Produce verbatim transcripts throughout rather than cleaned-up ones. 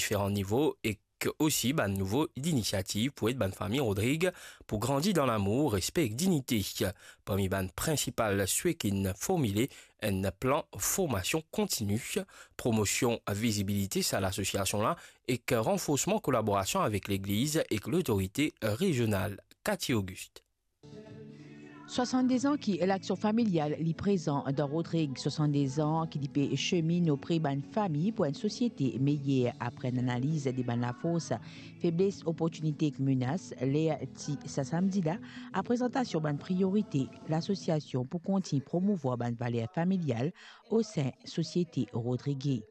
diferan nivo ek osi bann nouvo linisiativ pou ed bann fami Rodrig pou grandi dan lamour, respe ek dinite. Parmi bann prinsipal swe ki'nn formile, enn plan formasion kontini, promosion vizibilite sa lasosiasion la, ek ranforsman kolaborasion avek legliz ek lotorite rezional. Cathy Auguste. Swasann-de-z-an ki Laksion Familial li prezan dan Rodrig, swasann-de-z-an ki li pe seminn opre bann fami pou enn sosiete meyer, apre enn analiz de bann lafors, febles, oportinite ek menas, ler ti sa samdi la, a prezantasion bann priorite lasosiasion pou kontign promouvwar bann valer familial o sin sosiete rodrige.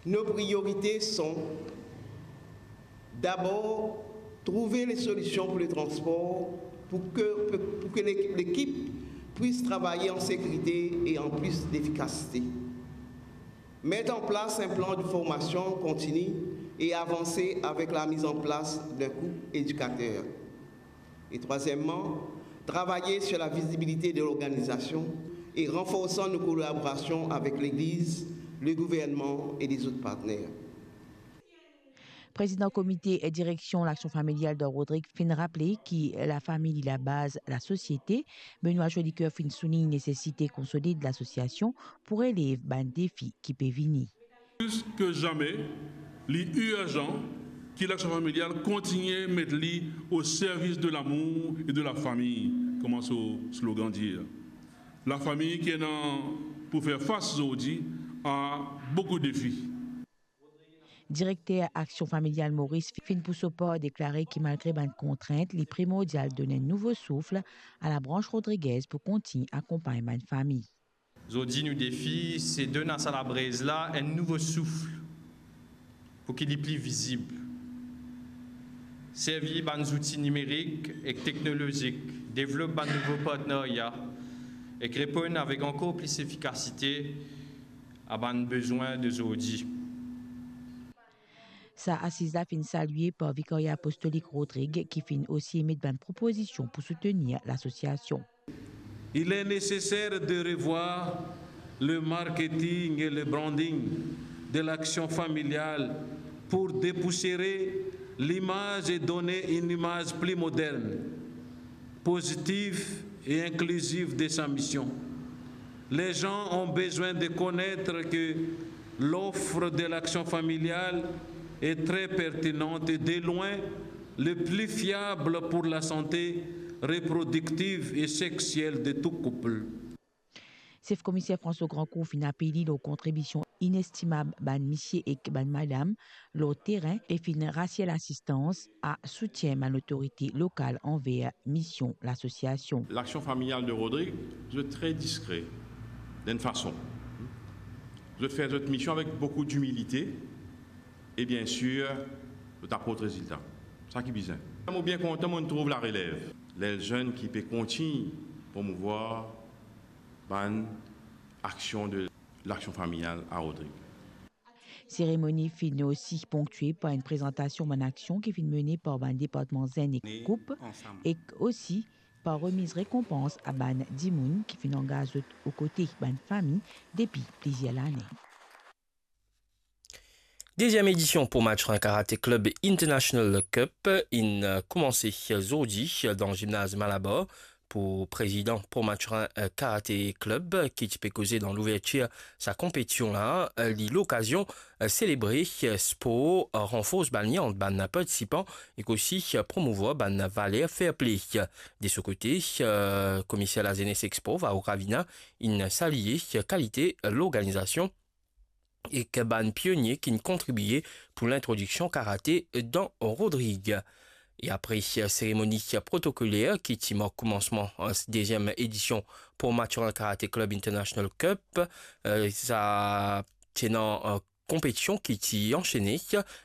Nos priorités sont d'abord trouver les solutions pour le transport pour que, pour que l'équ-, l'équipe puisse travailler en sécurité et en plus d'efficacité. Mettre en place un plan de formation continue et avancer avec la mise en place d'un couple éducateur. Et troisièmement, travailler sur la visibilité de l'organisation et renforçant nos collaborations avec l'Église, le gouvernement et les autres partenaires. Prezidan komite direksion Laksion Familial dan Rodrig finn raple ki lafami li labaz lasosiete. Benoît Jolicoeur finn soulign nesesite konsolid lasosiasion pou relev bann defi ki pe vini. Plis ki zame, li irzan ki Laksion Familial kontigne met li o servis de lamour e de lafami, kouma so slogan dir. Lafami ki ena pou fer fas zordi a boukou defi. Direkter Aksion Familial Moris finn pou so par deklare ki malgre bann kontrint, li primordial donn enn nouvo souf a labrans rodrigez pou kontign akonpagn bann fami. Zordi nou defi se donn a sa labrez la enn nouvo souf pou ki li pli vizib. Servi bann zouti nimerik ek teknolozik, devlop bann nouvo partnerya ek reponn avek ankor plis efikasite a bann bezwin de zordi. Sa asiz la finn salie par Vikarya Apostolik Rodrig ki finn osi emet bann propozision pou soutenir lasosiasion. Il est nécessaire de revoir le marketing et le branding de l'Action Familiale pour dépoussiérer l'image et donner une image plus moderne, positive et inclusive de sa mission. Les gens ont besoin de connaître que l'offre de l'Action Familiale est très pertinente et de loin le plus fiable pour la santé reproductive et sexuelle de tout couple. Sef Komiser François Grandcourt finn apel li lor kontribision inestimab bann misie ek bann madam lor terin e finn rasir lasistans a soutien bann lotorite lokal anver mision lasosiasion. L'Action Familiale de Rodrig, zot tre diskre dan enn fason. Zot fer zot mision avek boukou dimilite e, biensir, zot aport rezilta. Sa ki bizin. Mo bien kontan, mo trouv larelev, ler zenn ki pe kontign promouvwar bann aksion de l'Action Familiale à Rodrig. Seremoni finn osi ponktie par enn prezantasion bann aksion ki finn mene par bann departman zenn ek koup, ek osi par remiz rekonpans a bann dimoun ki finn angaz zot okote bann fami depi plizier lane. Dezyem edision Port Mathurin Karate Club International Cup inn koumanse zordi dan zimnaz Malabar. Pou prezidan Port Mathurin, eh, Karate Club, ki ti pe koze dan louvertir sa konpetision la, eh, li lokazion, eh, selebre, eh, spor, eh, ranfors bann lien ant bann partisipan ek osi, eh, promouvwar bann valer fair play. De so kote, eh, komiser lazenes ek spor, Varro Gravina, inn salie, eh, kalite, eh, lorganizasion ek bann pionie ki'nn kontribie pou lintrodiksion karate dan Rodrig. E apre seremoni protokoler ki ti mark koumansman, eh, dezyem edision Port Mathurin Karate Club International Cup, eh, sa ti ena, eh, konpetision ki ti ansene,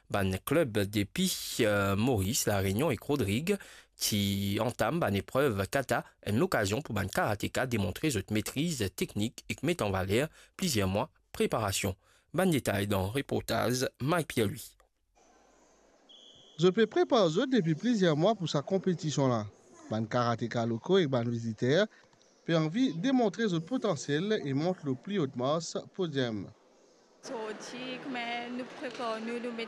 bann klub depi, eh, Moris, La Reunion ek Rodrig ti antam bann eprev kata, enn lokazion pou bann karateka demontre zot metriz teknik ek met an valer plizier mwa preparasion. Bann detay dan reportaz Mike Pierre-Louis. Zot pe prepar zot depi plizier mwa pou sa konpetision la. Bann karateka loko ek bann viziter pe anvi demontre zot potansiel e mont lor pli ot mars podium. Zordi, kouma nou prepar nou, nou met